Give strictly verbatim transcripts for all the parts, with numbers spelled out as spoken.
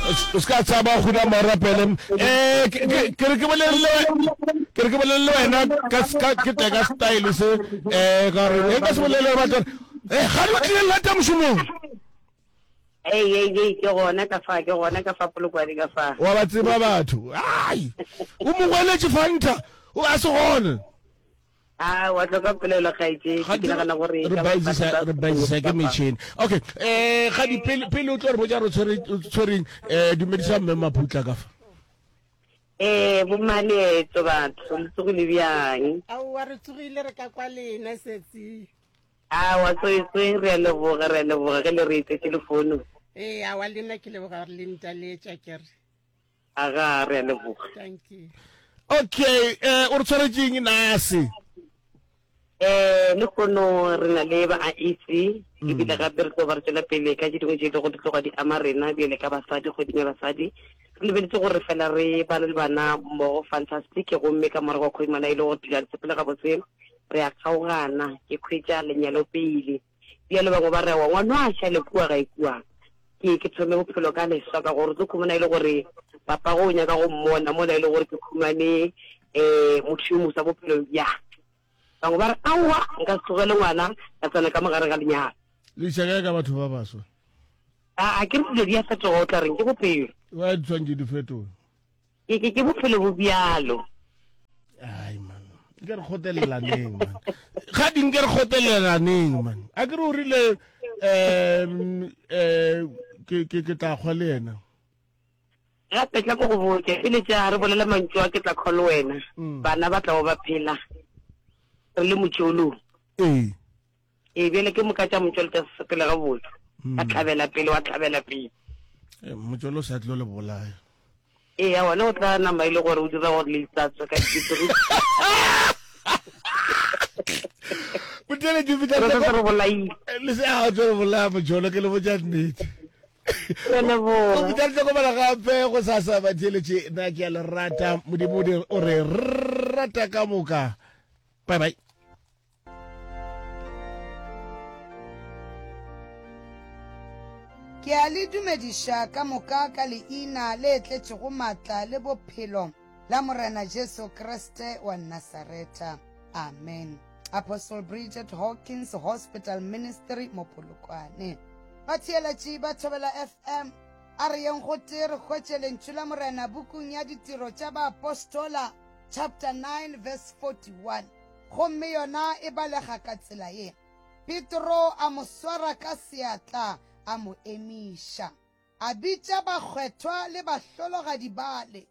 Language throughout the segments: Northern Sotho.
O se ka tshaba go na morapele. Eh ke ke re ke bolelle ke re ke bolelle wena ka ka ke teka style se eh ka re e ka se bolelle batho. Eh ga di tlile lata mošomong. Ei ei ei ke gona ka fa ke gona ka fa Polokwane ka fa. Wa ba tseba batho. Ai. O mo gweletše Fanta. O a se gone. A wa tlo ka polelo kgaetšedi ke nagana gore re baisisa re baisisa ke metšhini. Okay, eh ga di pele pele o tlo re botša re tshwere tshwereng eh dumedisa mme Maputla ka fa. Eh bo maleetso batho le tsogile bjang? Aowa re tsogile re ka kwa lena setsi. Aowa tswetswe re a leboga re a leboga ge le re etsetše lefono. Ee aowa le nna ke leboga gore le ntaletša ke re. Aga re a leboga. Thank you. Okay, eh o re tshwaretšeng nase? Eh lehono re na le ba I E C ebile gape re tlo ba re tšwela pele ka tše dingwe tše e lego di tloga di ama rena bjale ka basadi kgweding ya basadi. Re lebeletse gore fela re bana le bana mmogo fantastic gomme ka morago ga kgwedimana e le gore dilo ga di sepele gabotse re a kgaogana ke khwetša lenyalo pele. Bjale bangwe ba re aowa ngwana a šale kua gae kua ke ke thome bophelo ka leswa ka gore o tlo khumana e le gore papa go o nyaka go mmona mola e le gore ke khumane um motho yo moswa bophelong bja. Bangwe ba re aowa nka se tlogele ngwana ka tsena ka mogare ga lenyalo. Le iša kae ka batho ba baswa? A a ke re dilo di a fetoga o tla reng ke bophelo. Wa di tshwanetse di fetoge. Ke ke ke bophelo bo bjalo. Ai man. Nke re kgotelelaneng man. Ga di nke re kgotelelaneng man. A ke re o rile um eh ke ke ke tla kgwa le yena. Gape tla ko go botše pele tša re bolela mantšu a ke tla call wena. Bana ba tla ba phela. Re le motšolong. Ee. Ee bjale ke moka tša motšolo tša sepele ga botse. Wa tlhabela pele wa tlhabela pele. Motšolo sa tlo le bolaya. Ee ya wona o tla nama ile gore o dira gore le itsatswe ka dipiri. Botele ke fitla re bolaile. Le se a tlo re bolaya motšolo ke le botša nnete. Re leboga. Go fitla re tlhokomela gape go sasa batheeletše nna ke a le rata modimo o re rata ka moka. Bye bye. Ke a le dumediša ka moka ka leina le tletšego maatla le bophelo la Morena Jesu Kriste wa Nasaretha. Amen. Apostle Bridget Hawkins Hospital Ministry mo Polokwane. Batheeletši ba Thobela F M, a re yeng gotee re hwetše lentšu la Morena bukung ya Ditiro tša Baapostola chapter nine verse forty-one. Gomme yona e balega ka tsela ye. Petro a mo swara ka seatla a mo emiša. A bitša bakgwethwa le bahlologadi bale,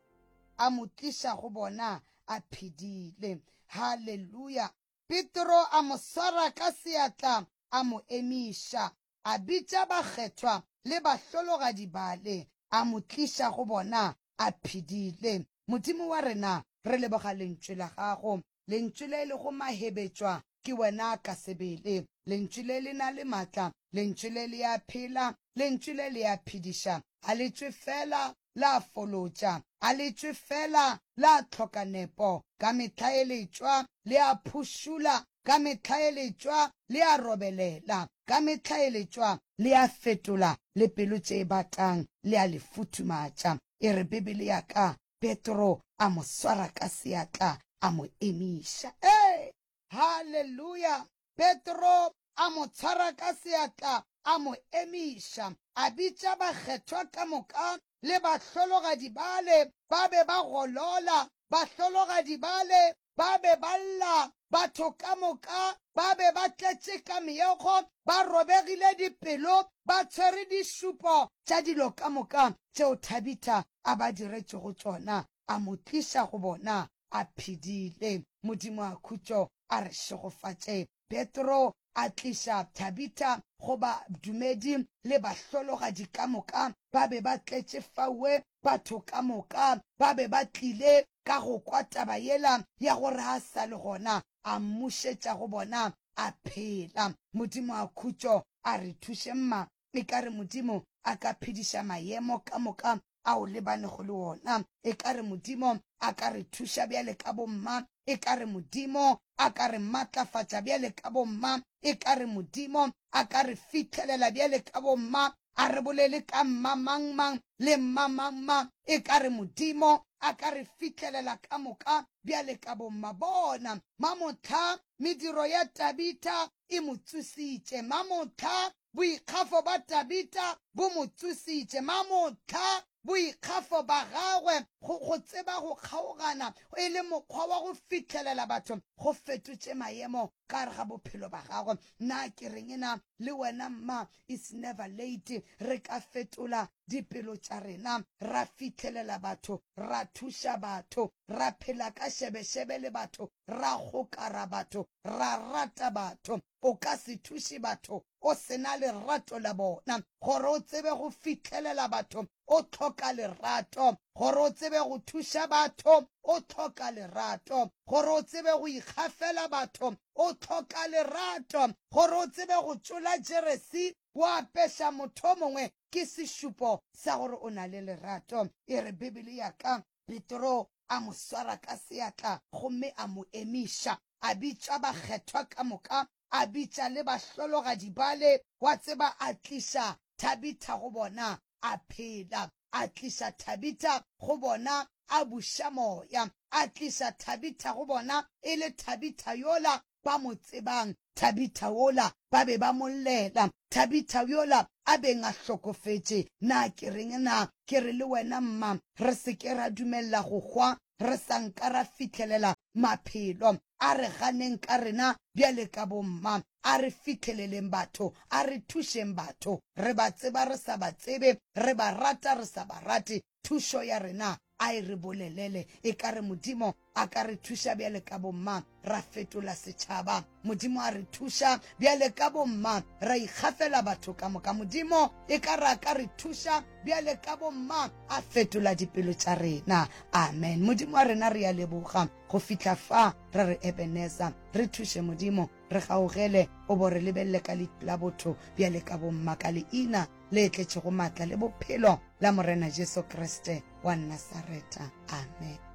a mo tliša go bona a phedile. Haleluya. Petro a mo swara ka seatla a mo emiša. A bitša bakgethwa le bahlologadi bale, a mo tliša go bona a phedile. Modimo wa rena, re leboga lentšu la gago. Lentšu le le go mahebetšwa ke wena ka sebele. Lentšu le le na le matla, lentšu le le a phela, lentšu le le a phediša. A le tšwe fela la folotša, a le tšwe fela la tlhoka nepo. Ka mehla e le tšwa le a phušula, ka mehla e le tšwa le a robelela, ka mehla e le tšwa le a fetola le pelo tše batang le a le futhumatša. E re Bibele ya ka, Petro a mo swara ka seatla a mo emiša. Ee, haleluya. Petro a mo tshwara ka seatla a mo emiša. A bitša bakgethwa ka moka le bahlologadi bale ba be ba golola, bahlologadi bale ba be ba lla, batho ka moka ba be ba tletše ka meokgo, ba robegile dipelo, ba tshwere dišupo tša dilo ka moka tšeo Tabitha a ba diretšego tšona. A mo tliša go bona a phedile. Modimo a khutšo a re šegofatše. Petro a tliša Tabitha go badumedi le bahlologadi ka moka ba be ba tletše faue. Batho ka moka ba be ba tlile ka go kwa taba yela ya gore a sa le gona, a mmušetša go bona a phela. Modimo a khutšo a re thuše mma. E ka re Modimo a ka phediša maemo ka moka ao lebanego le wona. E ka re Modimo a ka re thuša bjale ka bomma. E ka re Modimo a ka re matlafatša bjale ka bomma. E ka re Modimo a ka re fihlelela bjale ka bomma. A re bolele ka mma mang mang le mma mang mang, e ka re Modimo a ka re fihlelela ka moka bjale ka bomma. Bona, mamohla mediro ya Tabitha e mo tsositše. Mamohla boikgafo ba Tabitha bo mo tsositše. Mamohla boikgafo ba gagwe go, go tseba go kgaogana e le mokgwa wa go fihlelela batho go fetotše maemo ka gare ga bophelo ba gagwe. Na ke reng na le wena mma, it's never late. Re ka fetola dipelo tša rena, ra fihlelela batho, ra thuša batho, ra phela ka šebešebe le batho, ra gokara batho, ra rata batho. O ka se thuše batho o se na lerato la bona. Gore o tsebe go fihlelela batho o hloka lerato. Gore o tsebe go thuša batho o hloka lerato. Gore o tsebe go ikgafela batho o hloka lerato. Gore o tsebe go tšola jeresi wa apeša motho mongwe ke sešupo sa gore o na le lerato. E re Bibele ya ka, Petro a mo swara ka seatla gomme a mo emiša, a bitša bakgethwa ka moka, a bitša le bahlologadi bale, wa tseba, a tliša Tabitha go bona a phela, a tliša Tabitha go bona a buša moya, a tliša Tabitha go bona e le Tabitha yola ba mo tsebang, Tabitha wola ba be ba mo llela, Tabitha yola a beng a hlokofetše. Na ke reng na? Ke re le wena mma, re se ke ra dumelela go hwa re sa nka ra fihlelela maphelo. A re ganeng ka rena bjale ka bomma, a re fihleleleng batho, a re thušeng batho. Re ba tseba re sa ba tsebe, re ba rata re sa ba rate. Thušo ya rena a e re bolelele. E ka re Modimo a ka re thuša bjale ka bomma, ra fetola setšhaba. Modimo a re thuša bjale ka bomma, ra ikgafela batho ka moka. Modimo e ka re a ka re thuša bjale ka bomma, a fetola dipelo tša rena. Amen. Modimo wa rena, re a leboga go fihla fa re re Ebenezer. Re thuše Modimo, re gaogele, o bo re lebelele ka leihlo la botho bjale ka bomma, ka leina le tletšego maatla le bophelo la Morena Jesu Kriste wa Nasaretha. Amen.